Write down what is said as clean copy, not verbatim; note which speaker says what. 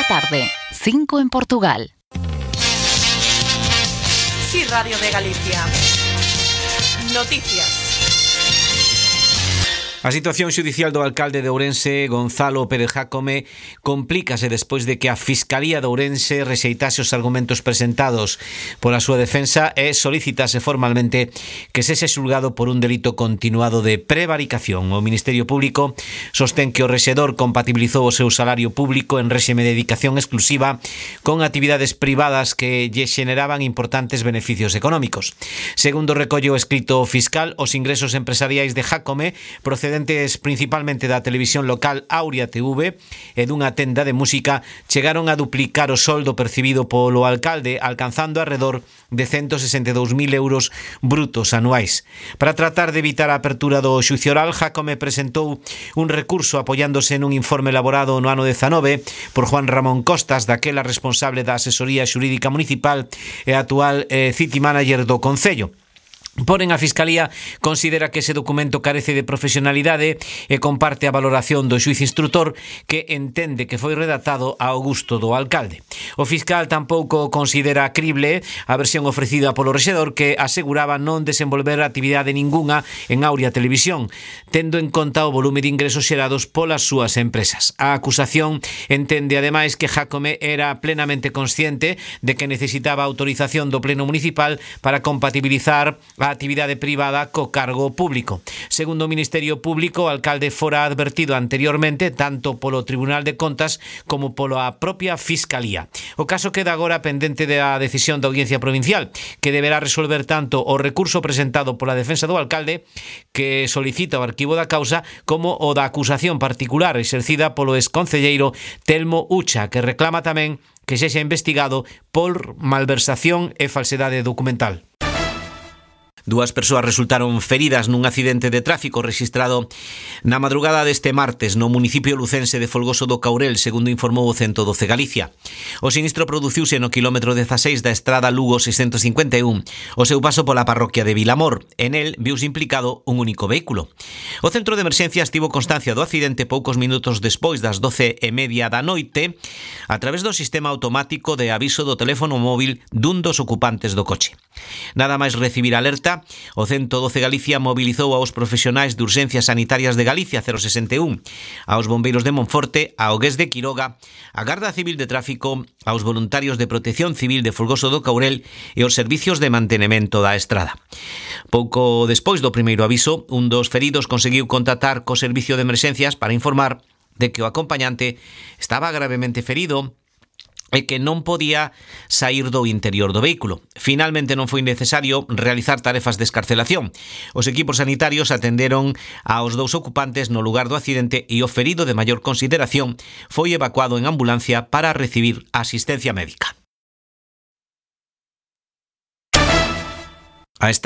Speaker 1: tarde, 5 en Portugal.
Speaker 2: Sí, Radio de Galicia. Noticias.
Speaker 3: A situación xudicial do alcalde de Ourense, Gonzalo Pérez Jácome, complícase despois de que a Fiscalía de Ourense rexeitase os argumentos presentados pola súa defensa e solicitase formalmente que sexe xulgado por un delito continuado de prevaricación. O Ministerio Público sostén que o rexedor compatibilizou o seu salario público en réxime de dedicación exclusiva con actividades privadas que lle xeneraban importantes beneficios económicos. Segundo recolle o escrito fiscal, os ingresos empresariais de Jácome proceden principalmente da televisión local Auria TV e dunha tenda de música chegaron a duplicar o soldo percibido polo alcalde, alcanzando alrededor de 162.000 euros brutos anuais. Para tratar de evitar a apertura do xuicio oral, Jácome presentou un recurso apoiándose nun informe elaborado no ano 19 por Juan Ramón Costas, daquela responsable da asesoría xurídica municipal e actual city manager do Concello. Porén, a Fiscalía considera que ese documento carece de profesionalidade e comparte a valoración do xuiz instrutor, que entende que foi redactado ao gusto do alcalde. O fiscal tampouco considera crible a versión ofrecida polo rexedor, que aseguraba non desenvolver actividade ningunha en Auria Televisión, tendo en conta o volume de ingresos xerados polas súas empresas. A acusación entende ademais que Jácome era plenamente consciente de que necesitaba autorización do Pleno Municipal para compatibilizar a actividade privada co cargo público. Segundo o Ministerio Público, o alcalde fora advertido anteriormente tanto polo Tribunal de Contas como pola propia Fiscalía. O caso queda agora pendente da decisión da Audiencia Provincial, que deberá resolver tanto o recurso presentado pola defensa do alcalde, que solicita o arquivo da causa, como o da acusación particular exercida polo exconcelleiro Telmo Ucha, que reclama tamén que sexa investigado por malversación e falsedade documental. Dúas persoas resultaron feridas nun accidente de tráfico rexistrado na madrugada deste martes no municipio lucense de Folgoso do Caurel, segundo informou o 112 Galicia. O sinistro produciuse no quilómetro 16 da estrada Lugo 651, o seu paso pola parroquia de Vilamor. En el viuse implicado un único vehículo. O centro de emerxencias tivo constancia do accidente poucos minutos despois das 12:30 da noite a través do sistema automático de aviso do teléfono móvil dun dos ocupantes do coche. Nada máis recibir alerta, o 112 Galicia mobilizou aos profesionais de urxencias sanitarias de Galicia 061, aos bombeiros de Monforte, ao GES de Quiroga, a Garda Civil de Tráfico, aos voluntarios de Protección Civil de Folgoso do Caurel e os servicios de mantenemento da estrada. Pouco despois do primeiro aviso, un dos feridos conseguiu contactar co servicio de emerxencias para informar de que o acompañante estaba gravemente ferido e que non podía sair do interior do vehículo. Finalmente non foi necesario realizar tarefas de escarcelación. Os equipos sanitarios atenderon aos dous ocupantes no lugar do accidente e o ferido de maior consideración foi evacuado en ambulancia para recibir asistencia médica. A esta